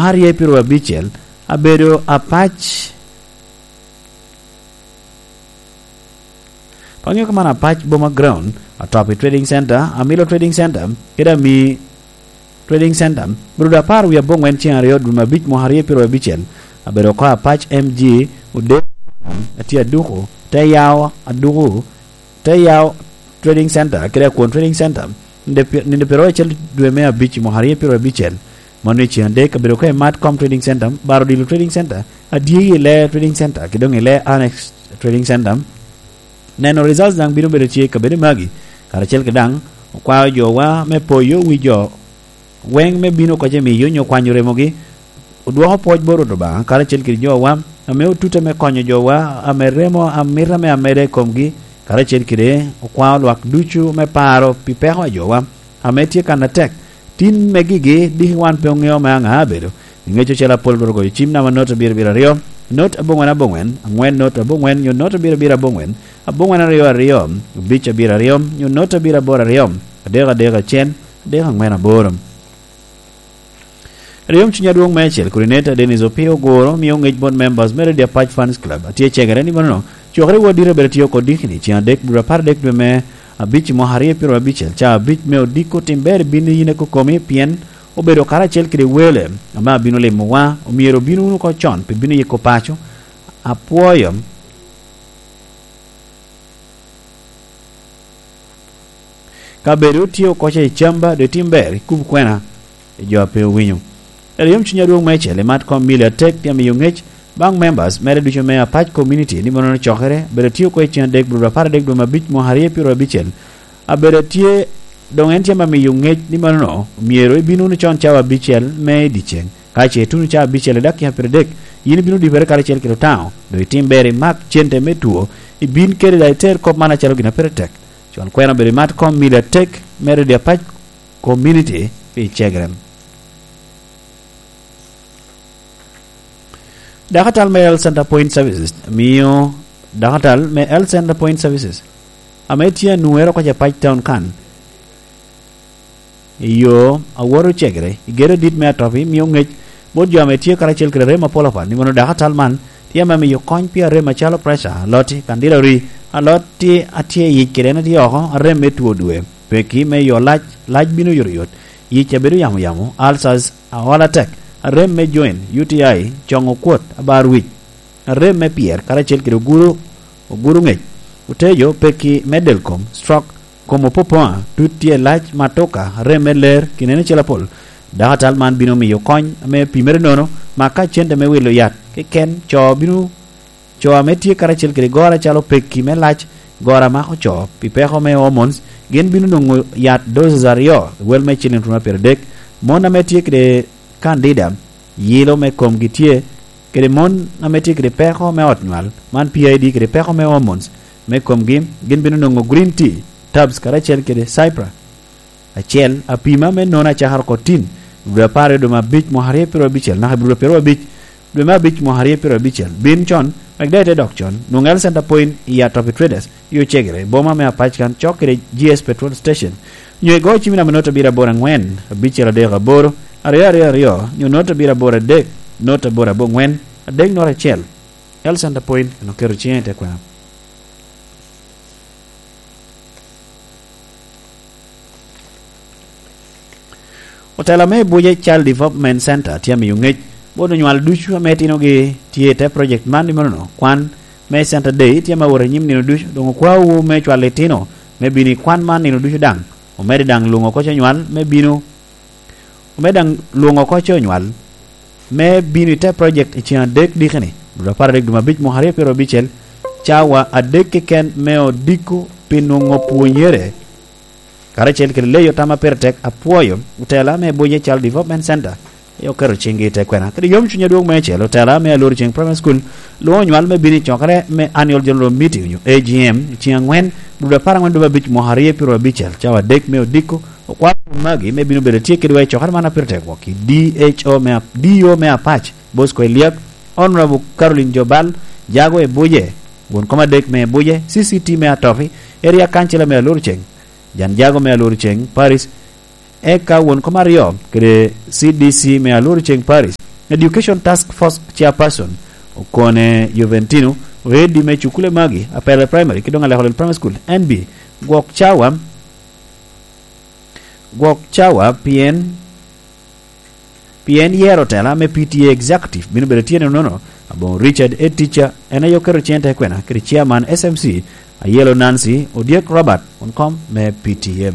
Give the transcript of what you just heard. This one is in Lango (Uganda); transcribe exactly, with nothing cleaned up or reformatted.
aryo i piro abicel, abedo apac. Paŋeo ka man apac Boma Ground, Atopi Trading Center, Amilo Trading Center, kede Ami Trading Center, obedo apar wie aboŋwen ceŋ aryo dwe me abic mwaka aryo piro abicel, abedo oko apac M G, Odero, atye aduku, te yawo aduku, te yawo Trading Center, kede Akwon Trading Center, ninde pi-, ninde piro acel dwe me abic mwaka aryo piro abicel, mano i ceŋ adek, abedo oko i Matcom Trading Center, Baro Odilo Trading Center, Adyeyi i Lee Trading Center, ki doŋ i Lee Annex Trading Center. Neno results daŋ bino bedo tye i kabedo magi, karacel ki daŋ okwao jowa me poyo wi jo weŋ me bino oko ce miyo onyo kwanyo remogi, odwoko pwoc bot Rwot Obaŋa karacel kede jowa, ame otute me konyo jowa, ame remo amito ame ameda i komgi, karacel kede okwao lwak ducu me paro pi peko a jowa, ame tye kan atek. Tin me gigi, diki wan pe oŋeo me aŋa abedo. Iŋeco ocel apol Rwot ogoyo cim namba not abiro abiro aryo, not aboŋwen aboŋwen, aŋwen not aboŋwen, nyo not abiro abiro aboŋwen, aboŋwen aryo aryo, obic abiro aryo, nyo not abiro aboro aryo, adek adek acel, adek aŋwen aboro. Ryom cuny adwoŋ me acel, Coordinator Dennis Opio Oguro mio ŋec bot members me Radio Apac Fans Club. Atye cegere ni mano, cokere wot dito bedo tye oko dikini, ceŋ adek dwe apar adek dwe me abic i mwaka aryo piro abicel, ca abic me odiko tim ber i bin yin ekokomi, pien obedo karacel kede wele, ame abino limowa, omyero obino wunu oko con, pi bino yiko paco. Apwoyo. Ka bedo tye oko ca i camba, doŋ itim ber, ikub kwena i jo a pe owinyo. Ero yom cuny adwoŋ meicel, imat kom mili atek, tye amiyo ŋec baŋ members mere ducu me Apac Community, ni mano cokere, bedo tye oko i cen adek, bur apar adek dwe me abic, mwaka aryo piro abicel. Abedo tye, doŋ en tye ame miyo ŋec ni mano myero ibin wunu con cawa abicel me i dyeceŋ. Ka ce ituno cawa abicel i dakika pyeradek, yin ibino dibere karacel kede Otaŋo, doŋ itim ber imak cente me two, ibin kede daŋ iter kop man acalo gin a pire tek. Con kwena obedo imat kom mili atek me Radio Apac Community pi cegere. Dakatal me Health Center Point Services mio, dakatal me Health Center Point Services ame tye anwoŋere oko i Apac Town kan, i yo a woto cegere, i gedo adit me Atopi, mio ŋec bot jo ame tye karacel kede rem apol apat, ni mano dakatal man tye ame miyo kony pi arem acalo preca, aloti, kandila ori, aloti a tye i yic kede en a tye oko, arem me two dwe, peki me yo lac, lac bino oyotoyot, yic a bedo yamo yamo, ulcers, aol atek, arem me joint, U T I, coŋo kwot, abar wic, arem me pyer, karacel kede oguro, oguro ŋec, otejo, peki me del kom, stroke, kom opopoŋa, tut tye lac, matuka, arem me ler, kinene cel apol. Dakatal man bino miyo kony ame pimere nono, ma ka cente me wilo yat keken, co bino, co ame tye karacel kede goro acalo peki me lac, goro a mako co, pi peko me hormones, gin bino nwoŋo yat doses aryo, wel me ciliŋ tuno pyeradek. Mon ame tye kede kandida, yilo me komgi tye, kede mon ame tye kede peko me ot nywal, man P I D, kede peko me hormones me komgi, gin bino nwoŋo green tea, tabs karacel kede Cipra acel, apima me nono acakara oko tin, dwe apar aryo dwe me abic mwaka aryo piro abicel, naka i dwe piro abic, dwe me abic mwaka aryo piro abicel. Bin con, wek daŋ ite dok con, nwoŋo Health Center Point i Atopi Traders, i Ocegere, i boma me Apac kan, cok kede G S Petrol Station, nyo igo cim i namba not abiro aboro aŋwen, abicel adek aboro, aryo aryo aryo, nyo not abiro aboro adek, not aboro aboŋwen, adek not acel. Health Center Point, en oketo ciŋe i te kwena. Otela me Abuja Child Development Center tye amiyo ŋec bot onywal ducu ame itinogi tye i te project man, ni mano kwan me Center Day tye ame awot anyim nino ducu, doŋ okwaowu me cwalo itino me bino i kwan man nino ducu daŋ, omedde daŋ lwoŋo oko co onywal me bino, omedde daŋ lwoŋo oko co onywal me bino i te project i ceŋ adek dikini, dwe apar adek dwe me abic mwaka aryo piro abicel, cawa adek keken me odiko pi nwoŋo pwonyere. Karacel kede leyo tam a pire tek, apwoyo otela me Abuja Child Development Center, aye oketo ciŋgi i te kwena. Kede yom cuny adwoŋ meicel, otela me Alor Ceng Primary School lwoŋo onywal me bino i cokere me Annual General Meeting, onyo A G M, i ceŋ aŋwen, dwe apar aŋwen dwe me abic mwaka aryo piro abicel, cawa adek me odiko, okwao magi me bino bedo tye kedwa i cokere man a pire tek wok i D H O me Ap-, D O me Apac, Bosco Eliak, Honorable Caroline Jobal, Jago Ebuje, won kom adek me Ebuje, C C T me Atopi, Area Councilor me Alor Ceng, Jan Jago me Alor Ceng Parish, Eka won kom aryo kede C D C me Aluru Ceng Parish, Education Task Force Chairperson Okone Juventino, oedi me cukule magi, Apele Primary ki doŋ Alekolel Primary School, N B, gwok cawa, gwok cawa pien, pien yero tela me P T A Executive bino bedo tye nono. Aboŋo Richard Etija en aye oketo cente kwena kede Chairman S M C, Ayelo Nancy Odyek Robert, won kom me P T M.